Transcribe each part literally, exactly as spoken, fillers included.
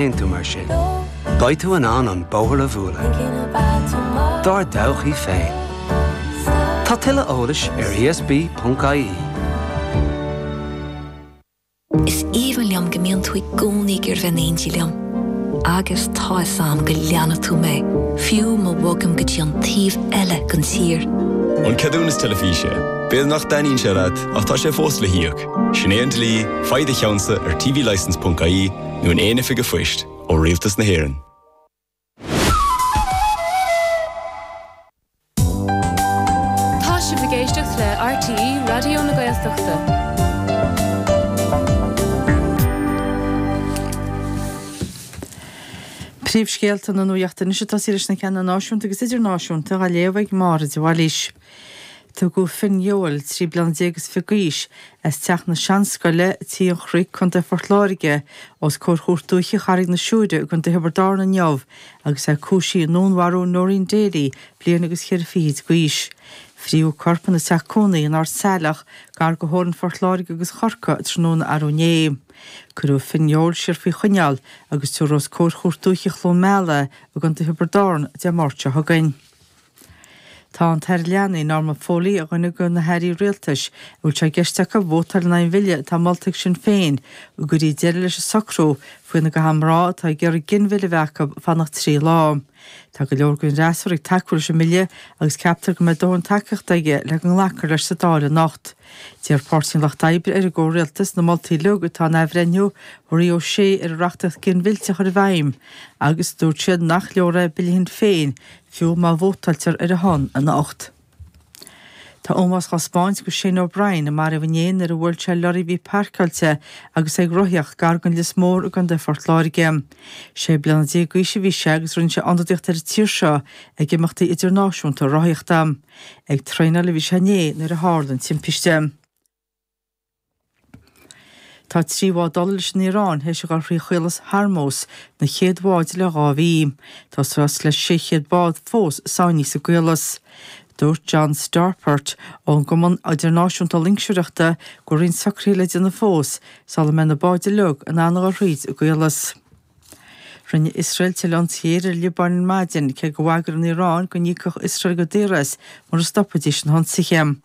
Tú mar sin. Beidh tú in ann an bóthar a bhualadh. Dár dtodhchaí féin. Tá tuilleadh eolais ar E S B ponc I E. Is aoibhinn liom go mbíonn tú i gcónaí ag iarraidh bheith in éindí liom. Agus tá a fhios agam go leanfaidh tú mé, fiú má bhogaim go dtí an taobh eile den tír. An ceadúnas teilifíse. B'fhéidir nach dtaitníonn sé leat ach tá sé fós le híoc. Sin é an dlí, faigh do cheannsa ar T V licence ponc I E nó in aon oifig phoist ó Rialtas na hÉireann. Tá sibh ag éisteacht le R T É Raidió na Gaeltachta. Príomhscéalta na nuachta anois atá leis na ceanna náisiúnta agus idirnáisiúnta á léamh ag Máire de Bhailís. Tugadh Finn Yeowell trí bliana déag is fiche d'aois as teach na Seanscoile Tí an Chnoic, Contae Phort Láirge, os comhair Chúirt Dúiche Charraig na Siúire i gContae Thiobraid Árann inniu agus é cúisithe i ndúnmharú Noreen Daly, bliain agus ceithre fichid d'aois. Fríodh a corp ina teach cónaí in Ard Saileach gar do theorainn Phort Láirge agus Chorcaí tráthnóna arú inné. Cuireadh Finn Yeowell siar faoi choinneáil agus tabharfar os comhair Chúirt Dúiche Chluain Meala i gContae Thiobraid Árann Dé Máirt seo chugainn. Tá an tAire Leanaí Norma Foley ar dhuine de na hairí rialtais a bhfuil sé i gceist acu vótáil in aghaidh an bhille atá molta ag Sinn Féin go gcuirfí deireadh leis an socrú faoina gcaithfidh mná atá ag iarraidh ginmhilleadh a bheith acu fanacht trí lá. Tá go leor den fhreasúra ag tacú leis an mbille agus ceaptar go mbeidh dóthain tacaíochta aige le go nglacfar leis sa Dáil anocht. D'iarr Páirtí an Lucht Oibre ar an gcomhrialtas na moltaí uilig atá in athbhreithniú Mharie O'Shea ar an reachtaíocht ginmhillte a chur i bhfeidhm agus dúirt siad nach leor é bille Shinn Féin fiú má vótáiltear ar a shon anocht. Tá ómós á thaispeáint do Shane O'Brien a maraíodh inné nuair a bhuail sé lorry a bhí páirceáilte agus é ag rothaíocht gar don Lios Mór i gContae Phort Láirge. Sé bliana déag d'aois a bhí sé agus rinne sé ionadaíocht ar an tír seo ag imeachtaí idirnáisiúnta rothaíochta. Ag traenáil a bhí sé inné nuair a tharla an timpiste. Tá trí bhád ola leis an Iaráin théis a dhul thrí Chaolas Hormuz na chéad bháid le dhá mhí. Tá suas le sé chéad bád fós sáinnithe sa gcaolas. Dúirt John Stawpert ón gCumann Idirnáisiúnta Loingseoireachta go raibh roinnt socruithe le déanamh fós sula mbeidh na báid uilig in ann a dhul thríd an gcaolas. Rinne Iosrael tuilleadh ionsaithe ar an Liobáin ar maidin cé gur bhagair an Iaráin go n-íocfadh Iosrael go daor as mura stopfaidís na hionsaithe.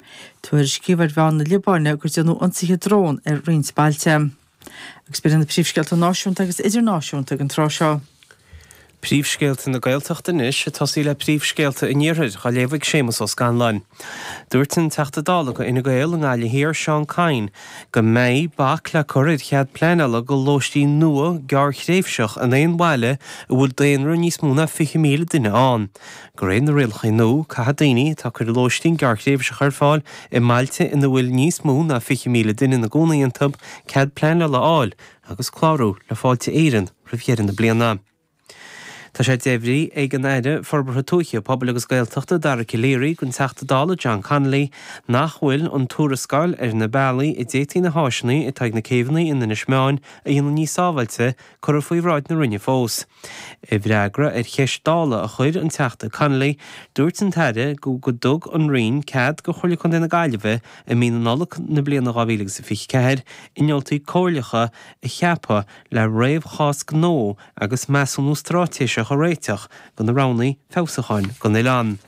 Tuairiscíodh ar mheáin na Liobáine gur déanadh ionsaithe drón ar roinnt bailte. Agus b'in na príomhscéalta náisiúnta agus idirnáisiúnta ag an tráth seo. Príomhscéalta na Gaeltachta anois ag tosaí le príomhscéalta an Iarthair á léamh ag Séamus Ó Scanláin. Dúirt an Teachta Dála do Fhine Gael i nGaillimh Thiar Seán Kyne go mbeidh bac le cur ar chead pleanála do lóistín nua gearrthréimhseach in aon bhaile a bhfuil daonra níos mó ná fiche míle duine ann. De réir na rialacha nua caithfidh daoine atá ag cur lóistín gearrthréimhseach ar fáil i mbailte ina bhfuil níos mó ná fiche míle duine ina gcónaí iontu cead pleanála a fháil agus clárú le Fáilte Éireann roimh dheireadh na bliana. Tá sé deimhnithe ag an Aire Forbartha Tuaithe, Pobail agus Gaeltachta Dara Calleary don Teachta Dála John Connolly nach bhfuil an tuarascáil ar na bealaí a d'fhéadfaí na háiseanna atá ag na céibheanna in Inis Meáin a dhéanamh níos sábháilte curtha faoi bhráid na Roinne fós. I bhfreagra ar cheist Dála a chuir an Teachta Connolly, dúirt an tAire go go dtug an Roinn cead do Chomhairle Contae na Gaillimhe i mí na Nollag na bliana dhá mhíle agus a fiche ceathair innealtóirí comhairleacha a cheapadh le réamhchás gnó agus measúnú straitéiseach a réiteach do na roghanna feabhsúcháin don oileán.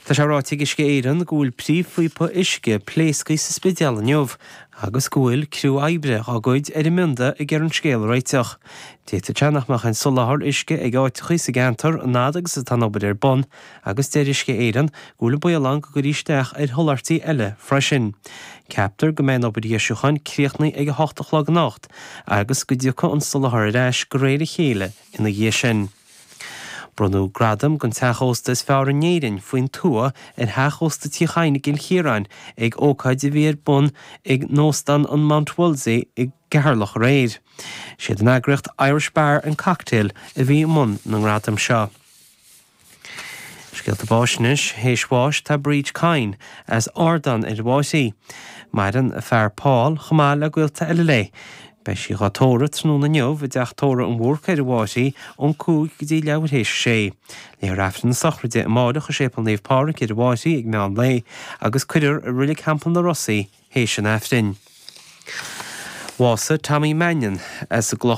Tá sé ráite ag Uisce Éireann go bhfuil príomhphíopa uisce pléasctha sa Spidéal inniu agus go bhfuil criú oibre dá gcuid ar an mbionda ag iarraidh an scéal a réiteach. D'fhéadfadh sé nach mbeadh aon soláthar uisce ag áiteacha sa gceantar an fhad agus atá an obair ar bun, agus deir Uisce Éireann go bhfuil an baol ann go gcuirfí isteach ar sholáthairtí eile freisin. Ceaptar go mbeidh an obair dheisiúcháin críochnaithe ag a hocht a chlog anocht agus go dtiocfaidh an soláthar ar ais de réir a chéile ina dhiaidh sin. Bronnadh gradam don teach ósta is fearr in Éirinn faoin tuath ar theach ósta Tí Chadhain i gCill Chiaráin ag ócáid a bhí ar bun ag óstán an Mount Wolsey i gCeatharlach aréir. Siad an eagraíocht Irish Bar and Cocktail a bhí i mbun na ngradam seo. Scéalta báis anois théis bháis tá Bríd Kyne as Ardán ar an Bháirí. Maireann a fear Paul chomh maith le gaolta eile léi. Beidh sí á tórramh tráthnóna inniu i dteach tórraimh an Bhúrcaigh ar an Bháirí ón cúig go dtí leathuair théis a sé. Léifear Aifreann na sochraide amárach i Séipéal Naomh Pádraig ar an Bháirí ag meán lae agus cuirfear i Reilig Theampall na Rosaí théis an Aifrinn. Bhásaigh Tommy Mannion as an